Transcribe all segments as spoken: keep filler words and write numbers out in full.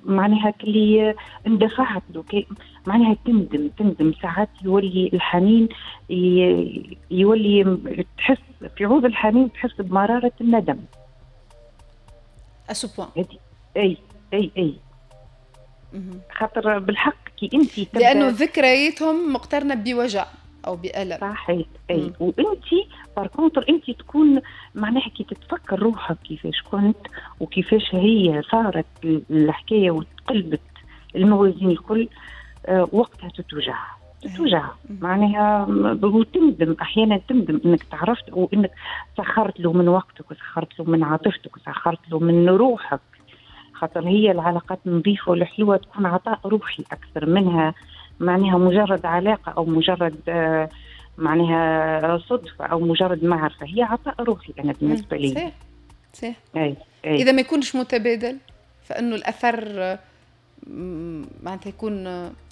معناها كلي اندفعت له، معناها تندم تندم ساعات يولي الحنين يولي تحس في عوض الحنين تحس بمرارة الندم. à ce point. اي اي اي خاطر بالحق كي انت لانه ذكرياتهم مقترنة بوجع او بألم. صحيح اي. وانت par contre انت تكون معناها كي تتفكر روحك كيفاش كنت وكيفاش هي صارت الحكاية وتقلبت الموازين الكل، آه وقتها تتوجع تتوجع معناها وتندم احيانا، تندم انك تعرفت وانك سخرت له من وقتك وسخرت له من عاطفتك وسخرت له من روحك، خاطر هي العلاقات النظيفة والحلوه تكون عطاء روحي اكثر منها معناها مجرد علاقة او مجرد آه معناها صدفة او مجرد معرفه، هي عطاء روحي انا بالنسبة لي. صحيح صحيح. أي. أي. اذا ما يكونش متبادل فانه الاثر معناتها يكون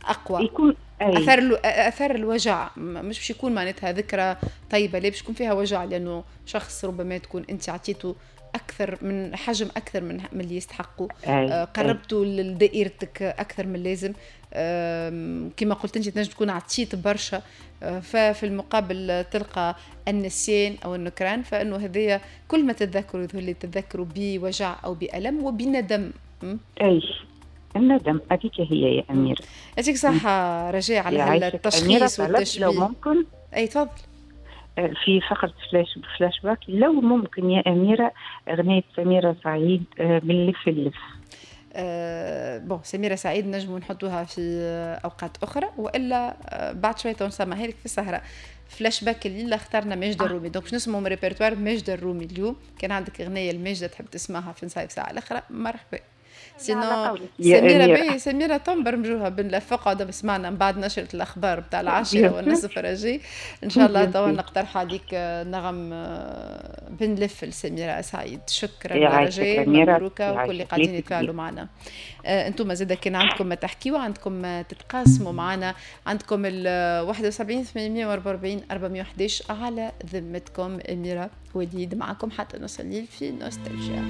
اقوى، يكون أي. اثر اثر الوجع مش باش يكون معناتها ذكرى طيبه، لا باش يكون فيها وجع، لانه شخص ربما تكون انت عطيته اكثر من حجم اكثر من من اللي يستحقوا، آه قربتوا لدائرتك اكثر من اللازم، كما قلت انت تنجم تكون عطيت برشا، آه، ففي المقابل تلقى النسيان او النكران، فانه هذايا كل ما تتذكروا يظهر لي تتذكروا بوجع او بالم وبندم. اي الندم هذيك هي يا اميره. يعطيك صحة رجاء على التشخيص والتشبيه. لو ممكن. اي تفضل. في فقرة flash flashback لو ممكن يا أميرة أغنية سميرة سعيد بنلف اللف. أه bon سميرة سعيد نجمو نحطوها في أوقات أخرى، وإلا بعد شوية نسمعها لك في السهرة. فلاش باك الليلة اخترنا ماجدة آه. الرومي، donc باش نسمعوا من ريبرتوار ماجدة الرومي اليوم. كان عندك أغنية الماجدة تحب تسمعها في نصايف ساعة الأخرى مرحبا. sinon سميرة باهي، سميرة تنبرمجوها بنلف قعدة سمعنا من بعد نشرة الأخبار بتاع العاشرة والنصف رجي إن شاء الله توا نقترح عليك نغم بنلف لسميرة سعيد. شكرا رجاء، مبروكة وكل اللي قاعدين يتفاعلوا معنا. انتم زاد كان عندكم ما تحكيوا، عندكم ما تتقاسموا معنا، عندكم ال واحد وسبعين ثمانمية وأربعة وأربعين أربعمية وحداش على ذمتكم. أميرة وليد معكم حتى نص الليل في نوستالجيا.